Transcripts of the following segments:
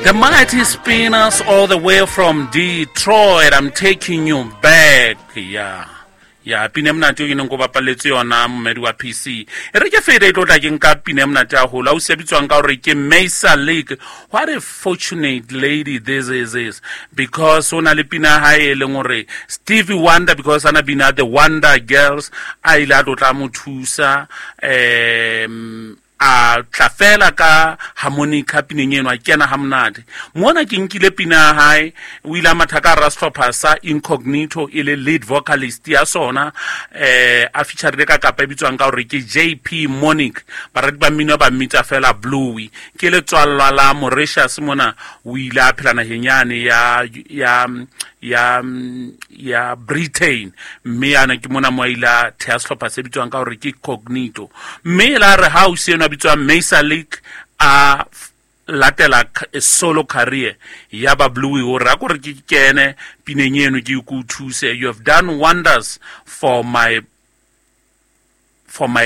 The Mighty Spinners all the way from Detroit. I'm taking you back. Yeah. Ya pina e monate eo ke neng ko bapaletse yona momedi wa PC e re ke fete e tlo tla ke nka pina e monate haholo ausi ya bitswang ka gore ke Mesa Lake. What a fortunate lady this is because o na le pina ya hae e leng gore Stevie Wonder, because ana bina the Wonder Girls, a ile a tlo tla mo thusa, a tla fela ka harmonica pineng eno, a kena ha monate mona. Ke nkile pina ya hae, o ile a matha ka hara sehlopha sa Incognito e le lead vocalist ya sona, a featurile ka kapa e bitswang ka hore ke JP Monic. Barati ba mmino ba mmitsa fela Bluey. Ke letswallwa la Mauritius mona, o ile a phela naheng yane ya Britain, mme yana ke mona mo a ile a theha sehlopha se bitswang ka hore ke Cognito. Mme e la re ha ausi eno a bitswang Mesa Lake a latela solo career ya ba Bluey, hore a kore ke kene pineng eno ke o thuse. You have done wonders for my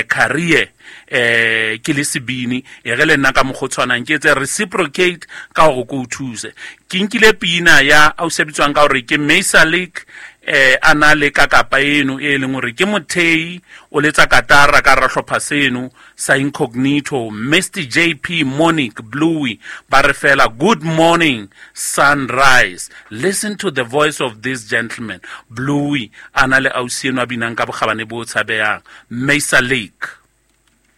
career, ke le sebini, e re le nna ka mokgwa o tshwanang ke etse reciprocate ka hore ke o thuse. Ke nkile pina ya ausi a bitswang ka hore ke Mesa Lake, a na le kakapa eno e leng hore ke mothei o letsa katara ka hara hlopha seno sa Incognito, Mr JP Monic Bluey. Ba re fela good morning sunrise. Listen to the voice of this gentleman Bluey, a na le ausi eno a binang ka bokgabane bo tshabehang, Mesa Lake.